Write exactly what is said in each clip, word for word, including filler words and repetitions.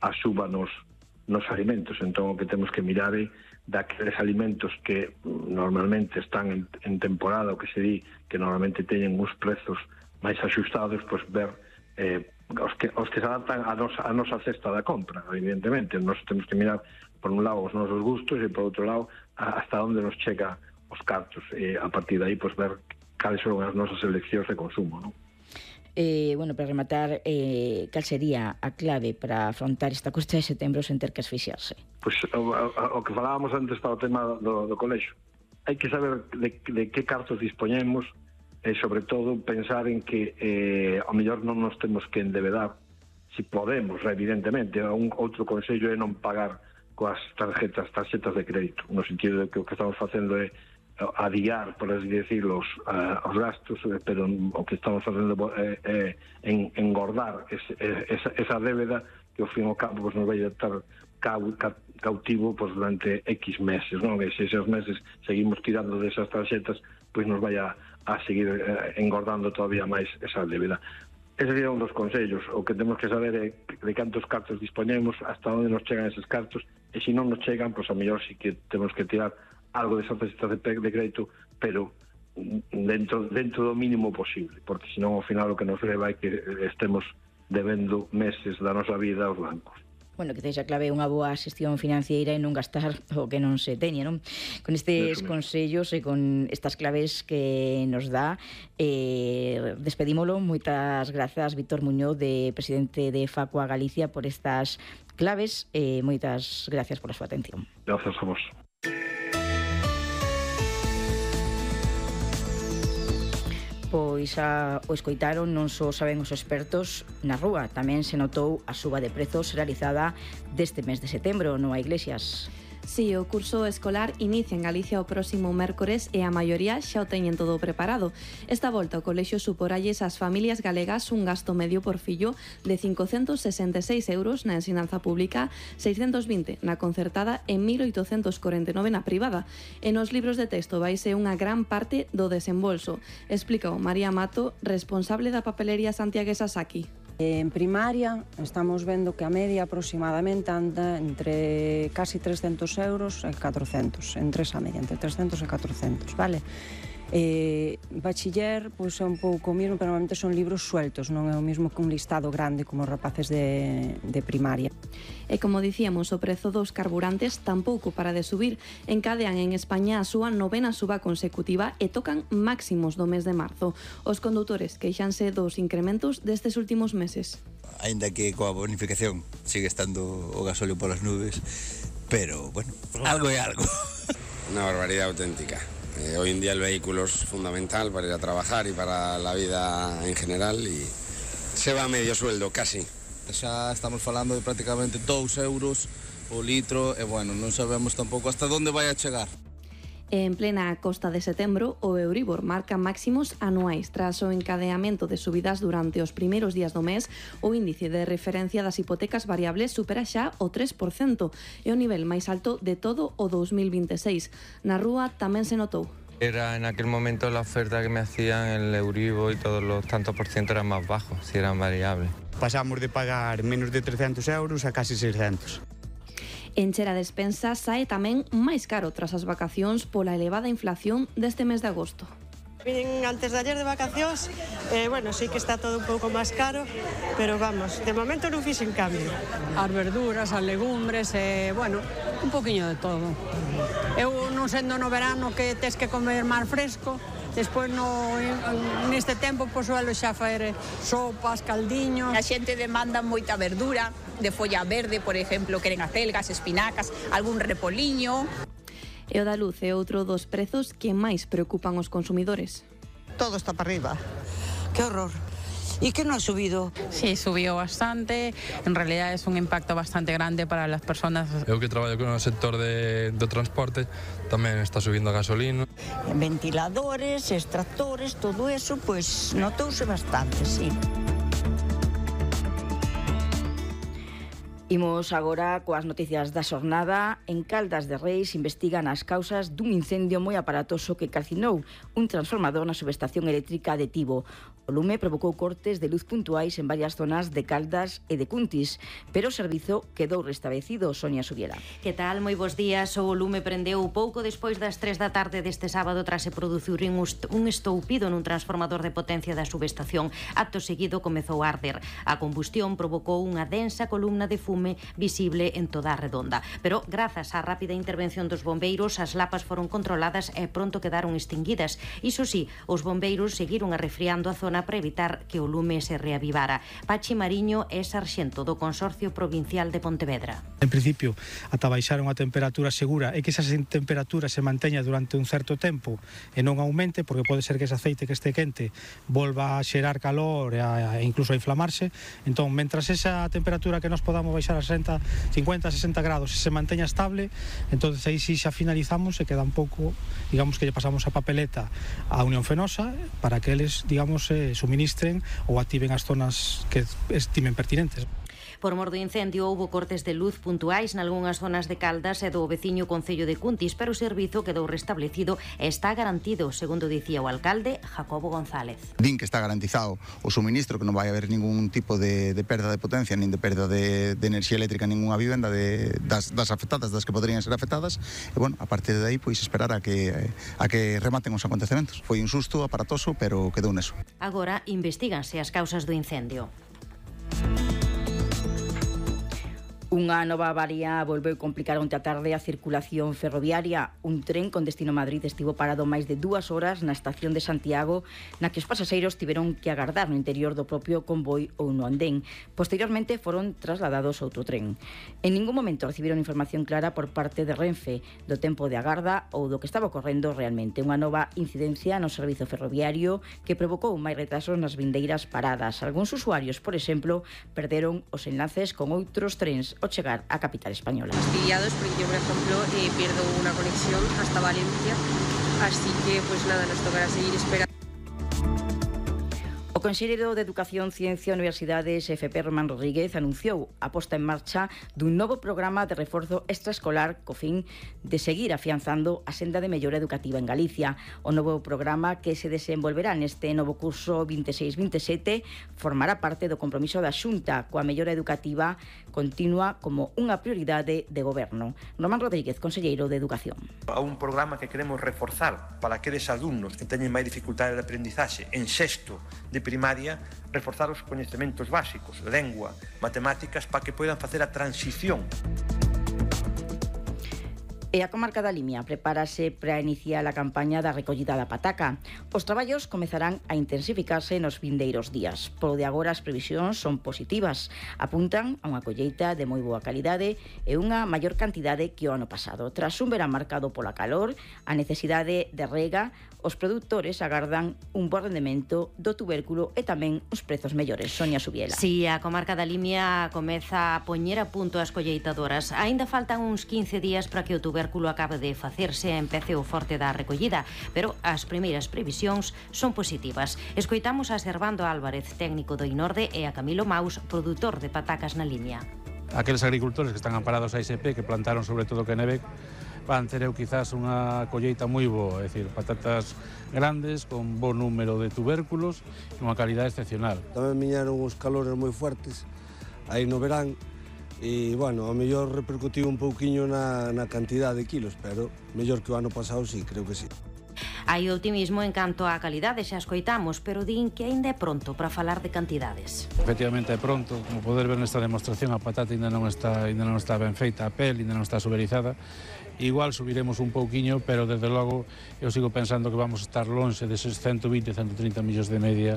a suba nos, nos alimentos. Entón, o que temos que mirar é daqueles alimentos que normalmente están en, en temporada, o que se di que normalmente teñen uns prezos máis axustados, pois ver eh, os, que, os que se adaptan a nosa, a nosa cesta da compra, evidentemente. Nos temos que mirar, por un lado, os nosos gustos e, por outro lado, a, hasta onde nos chega os cartos. E, a partir de aí, pois, ver cales son as nosas eleccións de consumo, non? Eh, bueno, para rematar, eh, cal sería a clave para afrontar esta cuesta de setembro sen ter que asfixiarse? Pois o, o, o que falábamos antes para o tema do, do colexo, hai que saber de, de que cartos dispoñemos e, sobre todo, pensar en que eh, ao mellor non nos temos que endevedar, si podemos, evidentemente. Un outro consello é non pagar coas tarjetas, tarxetas de crédito, no sentido de que o que estamos facendo é adiar, por así decirlo, os, uh, os gastos, pero o que estamos facendo é, é en, engordar ese, esa, esa débeda que ao fin e ao cabo pues, nos vai a estar cau, ca, cautivo pues, durante X meses, non? E se esos meses seguimos tirando desas tarxetas, pois pues, nos vai a, a seguir uh, engordando todavía máis esa débeda. Ese sería un dos consellos. O que temos que saber é de cantos cartos dispoñemos, hasta onde nos chegan eses cartos, e se non nos chegan, pois pues, a mellor sí que temos que tirar algo de tarxetas de, de crédito, pero dentro, dentro do mínimo posible, porque senón ao final o que nos leva é que estemos debendo meses da nosa vida aos bancos. Bueno, que texa clave unha boa xestión financiera e non gastar o que non se teña, non? Con estes consellos e con estas claves que nos dá, eh, despedímolo. Moitas grazas, Víctor Muñoz, de presidente de Facua Galicia, por estas claves, e eh, moitas gracias pola súa atención. Grazas a vos. Pois a, o escoitaron, non só saben os expertos na rúa, tamén se notou a suba de prezos realizada deste mes de setembro, non a Iglesias. Si, o curso escolar inicia en Galicia o próximo mércores e a maioría xa o teñen todo preparado. Esta volta o colexio suporalles ás familias galegas un gasto medio por fillo de cincocentos sesenta e seis euros na ensinanza pública, seiscentos vinte na concertada e mil oitocentos corenta e nove na privada. E nos libros de texto vai ser unha gran parte do desembolso, explica o María Mato, responsable da papelería santiaguesa Saki. En primaria estamos vendo que a media aproximadamente anda entre casi trescentos euros e catrocentos, entre esa media, entre trescentos e catrocentos, vale? Eh, bachiller, pois é un pouco o mismo, pero normalmente son libros sueltos, non é o mismo que un listado grande como os rapaces de, de primaria. E como dicíamos, o prezo dos carburantes tampouco para de subir. Encadean en España a súa novena suba consecutiva e tocan máximos do mes de marzo. Os condutores queixanse dos incrementos destes últimos meses. Ainda que coa bonificación sigue estando o gasóleo polas nubes, pero, bueno, algo é algo. Una barbaridad auténtica. Eh, hoy en día el vehículo es fundamental para ir a trabajar y para la vida en general y se va a medio sueldo, casi. Xa estamos falando de prácticamente dous euros o litro e, bueno, non sabemos tampouco hasta onde vai a chegar. En plena costa de setembro, o Euribor marca máximos anuais. Tras o encadeamento de subidas durante os primeiros días do mes, o índice de referencia das hipotecas variables supera xa o tres por cento, e o nivel máis alto de todo o dos mil vinte e seis. Na rúa tamén se notou. Era en aquel momento la oferta que me hacían el Euribor y todos los tantos por ciento eran más bajos, si eran variables. Pasamos de pagar menos de trescentos euros a casi seiscentos. Encher a despensa sae tamén máis caro tras as vacacións pola elevada inflación deste mes de agosto. Vin antes de ayer de vacacións, eh, bueno, sí que está todo un pouco máis caro, pero vamos, de momento non fixen cambio. As verduras, as legumbres, eh, bueno, un poquinho de todo. Eu non sendo no verano que tes que comer máis fresco, despois no, neste tempo pois suelo xa faer sopas, caldiños. A xente demanda moita verdura, de folla verde, por exemplo, queren acelgas, espinacas, algún repoliño. E o da luz é outro dos prezos que máis preocupan os consumidores. Todo está para arriba. ¡Qué horror! ¿Y qué no ha subido? Sí, subió bastante. En realidad es un impacto bastante grande para las personas. Eu que traballo con o sector de, do transporte tamén está subindo a gasolina. Ventiladores, extractores, todo eso, pues notouse bastante, sí. Imos agora coas noticias da xornada. En Caldas de Reis investigan as causas dun incendio moi aparatoso que calcinou un transformador na subestación eléctrica de Tibo. O lume provocou cortes de luz puntuais en varias zonas de Caldas e de Cuntis, pero o servizo quedou restablecido. Sonia Subiela. Que tal? Moi bons días. O lume prendeu pouco despois das tres da tarde deste sábado tras se producir un estoupido nun transformador de potencia da subestación. Acto seguido comezou a arder. A combustión provocou unha densa columna de fume visible en toda a redonda. Pero, grazas á rápida intervención dos bombeiros, as lapas foron controladas e pronto quedaron extinguidas. Iso sí, os bombeiros seguiron arrefriando a zona para evitar que o lume se reavivara. Pachi Mariño é sarxento do Consorcio Provincial de Pontevedra. En principio, ata baixar unha temperatura segura e que esa temperatura se manteña durante un certo tempo e non aumente, porque pode ser que ese aceite que este quente volva a xerar calor e, a, e incluso a inflamarse. Entón, mentras esa temperatura que nos podamos baixar a sesenta, cincuenta, sesenta grados se manteña estable, entonces aí sí xa finalizamos e queda un pouco, digamos que lle pasamos a papeleta á Unión Fenosa para que eles, digamos, eh, suministren ou activen as zonas que estimen pertinentes. Por mor do incendio houbo cortes de luz puntuais nalgunhas zonas de Caldas e do veciño concello de Cuntis, pero o servizo quedou restablecido e está garantido, segundo dicía o alcalde Jacobo González. Din que está garantizado o suministro, que non vai haber ningún tipo de, de perda de potencia nin de perda de, de enerxía eléctrica en ninguna vivenda de, das, das afectadas, das que poderían ser afectadas, e bueno, a partir de aí pois esperar a que, a que rematen os acontecementos. Foi un susto aparatoso, pero quedou neso. Agora investiganse as causas do incendio. Unha nova avaría volveu complicar onte a tarde a circulación ferroviaria. Un tren con destino Madrid estivo parado máis de dúas horas na estación de Santiago, na que os pasaxeiros tiveron que agardar no interior do propio convoi ou no andén. Posteriormente foron trasladados a outro tren. En ningún momento recibiron información clara por parte de Renfe do tempo de agarda ou do que estaba ocorrendo realmente. Unha nova incidencia no servizo ferroviario que provocou máis retrasos nas vindeiras paradas. Algúns usuarios, por exemplo, perderon os enlaces con outros trens o chegar á capital española. Fastidiados porque yo, por ejemplo, eh, pierdo una conexión hasta Valencia, así que pues nada, nos tocará seguir esperando. O conselleiro de Educación, Ciencia e Universidades, F P Román Rodríguez, anunciou a posta en marcha dun novo programa de reforzo extraescolar co fin de seguir afianzando a senda de mellora educativa en Galicia. O novo programa, que se desenvolverá neste novo curso vinte e seis vinte e sete, formará parte do compromiso da Xunta coa mellora educativa continua como unha prioridade de goberno. Román Rodríguez, conselleiro de Educación. A un programa que queremos reforzar para aqueles alumnos que teñen máis dificultade de aprendizaxe en sexto de primaria, reforzar os coñecementos básicos, lengua, matemáticas, para que poidan facer a transición. E a comarca da Limia prepárase para iniciar a campaña da recollida da pataca. Os traballos comezarán a intensificarse nos vindeiros días. Polo de agora as previsións son positivas. Apuntan a unha colleita de moi boa calidade e unha maior cantidade que o ano pasado. Tras un verán marcado pola calor, a necesidade de rega, os produtores agardan un bo rendemento do tubérculo e tamén os prezos mellores. Sonia Subiela. Si, a comarca da Limia comeza a poñer a punto as colleitadoras. Aínda faltan uns quince días para que o tubérculo acabe de facerse e empece o forte da recollida, pero as primeiras previsións son positivas. Escoitamos a Servando Álvarez, técnico do Inorde, e a Camilo Maus, produtor de patacas na Limia. Aqueles agricultores que están amparados a I S P, que plantaron sobre todo Quenevec, van ter eu quizás unha colleita moi boa, é dicir, patatas grandes, con bo número de tubérculos e unha calidade excepcional. Tamén viñeron os calores moi fuertes aí no verán e, bueno, a mellor repercutiu un pouquiño na, na cantidade de kilos, pero mellor que o ano pasado, sí, creo que sí. Hai optimismo en canto á calidade, xa escoitamos, pero din que aínda é pronto para falar de cantidades. Efectivamente é pronto, como poder ver nesta demostración, a patata ainda non está, ainda non está ben feita, a pel ainda non está suberizada. Igual subiremos un pouquiño, pero desde logo eu sigo pensando que vamos a estar lonxe deses ciento vinte, ciento trinta millóns de media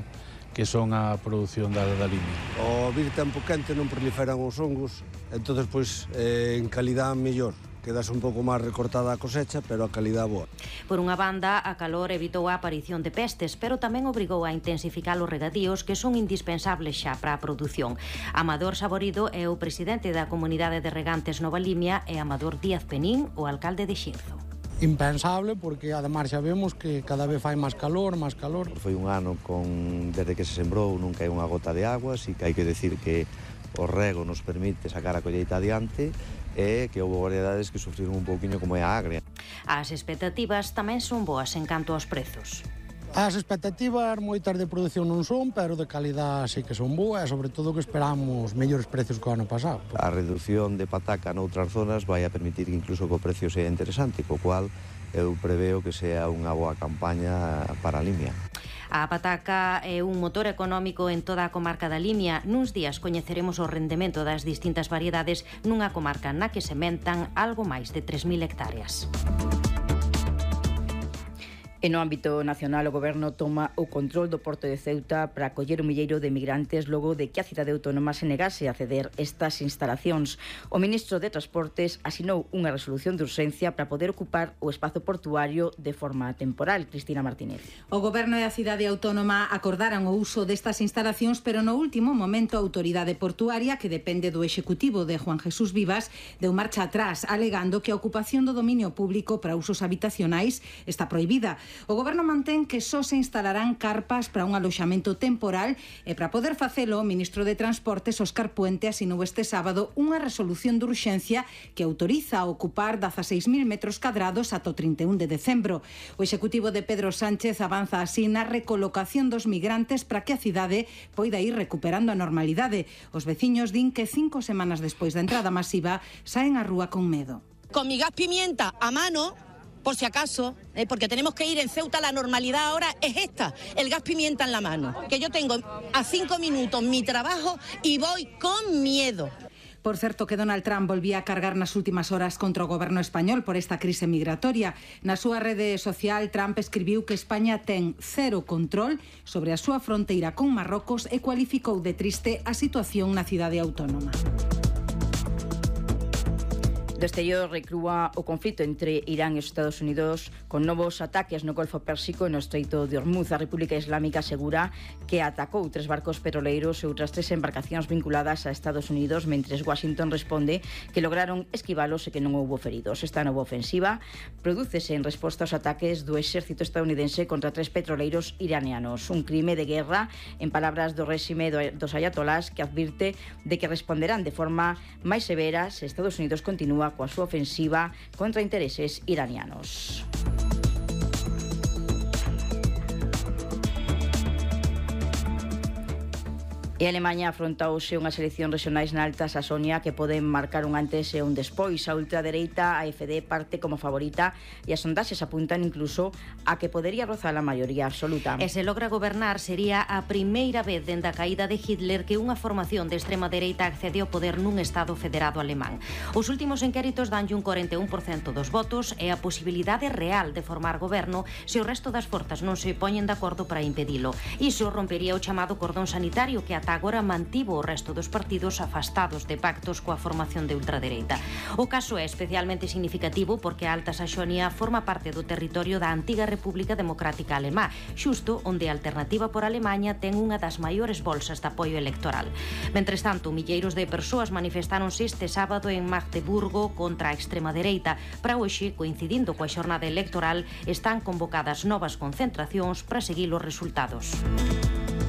que son a produción da, da Limia. O vir tempo quente non proliferan os hongos, entón, pois, eh, en calidad mellor. Quedas un pouco máis recortada a cosecha, pero a calidad boa. Por unha banda, a calor evitou a aparición de pestes, pero tamén obrigou a intensificar os regadíos que son indispensables xa para a produción. Amador Saborido é o presidente da Comunidade de Regantes Nova Limia e Amador Díaz Penín, o alcalde de Xirzo. Impensable, porque ademais xa vemos que cada vez fai máis calor, máis calor. Foi un ano con, desde que se sembrou, nunca hai unha gota de agua, así que hai que decir que o rego nos permite sacar a colleita adiante e que houve variedades que sufriron un pouquiño como é a agria. As expectativas tamén son boas en canto aos prezos. As expectativas moitas de produción non son, pero de calidad sí que son boas, e sobre todo que esperamos mellores precios que o ano pasado. A reducción de pataca noutras zonas vai a permitir que incluso que o precio sea interesante, co cual eu preveo que sea unha boa campaña para a Limia. A pataca é un motor económico en toda a comarca da Limia. Nuns días coñeceremos o rendemento das distintas variedades nunha comarca na que sementan algo máis de tres mil hectáreas. E no ámbito nacional, o Goberno toma o control do Porto de Ceuta para acoller un milleiro de migrantes logo de que a cidade autónoma se negase a ceder estas instalacións. O ministro de Transportes asinou unha resolución de urxencia para poder ocupar o espazo portuario de forma temporal. Cristina Martínez. O Goberno e a cidade autónoma acordaran o uso destas instalacións, pero no último momento a Autoridade Portuaria, que depende do Executivo de Juan Jesús Vivas, deu marcha atrás, alegando que a ocupación do dominio público para usos habitacionais está prohibida. O Goberno mantén que só se instalarán carpas para un aloxamento temporal e para poder facelo, o ministro de Transportes, Óscar Puente, asinou este sábado unha resolución de urxencia que autoriza a ocupar dezaseis mil metros cadrados ata o trinta e un de decembro. O Executivo de Pedro Sánchez avanza así na recolocación dos migrantes para que a cidade poida ir recuperando a normalidade. Os veciños din que cinco semanas despois da entrada masiva saen á rúa con medo. Con mi gas pimienta a mano, por si acaso, eh, porque tenemos que ir en Ceuta, la normalidad ahora es esta, el gas pimienta en la mano, que yo tengo a cinco minutos mi trabajo y voy con miedo. Por certo que Donald Trump volvía a cargar nas últimas horas contra o goberno español por esta crise migratoria. Na súa rede social, Trump escribiu que España ten cero control sobre a súa fronteira con Marrocos e cualificou de triste a situación na cidade autónoma. Do exterior recrúa o conflito entre Irán e os Estados Unidos con novos ataques no Golfo Pérsico e no Estreito de Hormuz. A República Islámica asegura que atacou tres barcos petroleiros e outras tres embarcacións vinculadas a Estados Unidos, mentres Washington responde que lograron esquivalos e que non houbo feridos. Esta nova ofensiva prodúcese en resposta aos ataques do exército estadounidense contra tres petroleiros iranianos. Un crime de guerra, en palabras do réxime dos ayatolás, que advirte de que responderán de forma máis severa se Estados Unidos continúa coa súa ofensiva contra intereses iranianos. E Alemanha afronta hoxe unhas eleccións regionais na Alta Saxonia que poden marcar un antes e un despois. A ultradereita, a F D, parte como favorita e as sondaxes apuntan incluso a que podería rozar a maioría absoluta. E se logra gobernar, sería a primeira vez dende a caída de Hitler que unha formación de extrema dereita accede ao poder nun Estado federado alemán. Os últimos inquéritos danlle un cuarenta e un por cento dos votos e a posibilidade real de formar goberno se o resto das forzas non se poñen de acordo para impedilo. Iso rompería o chamado cordón sanitario que ata agora mantivo o resto dos partidos afastados de pactos coa formación de ultradereita. O caso é especialmente significativo porque a Alta Saxonia forma parte do territorio da antiga República Democrática Alemá, xusto onde a Alternativa por Alemaña ten unha das maiores bolsas de apoio electoral. Mentres tanto, milleiros de persoas manifestáronse este sábado en Magdeburgo contra a extrema dereita. Para hoxe, coincidindo coa xornada electoral, están convocadas novas concentracións para seguir os resultados.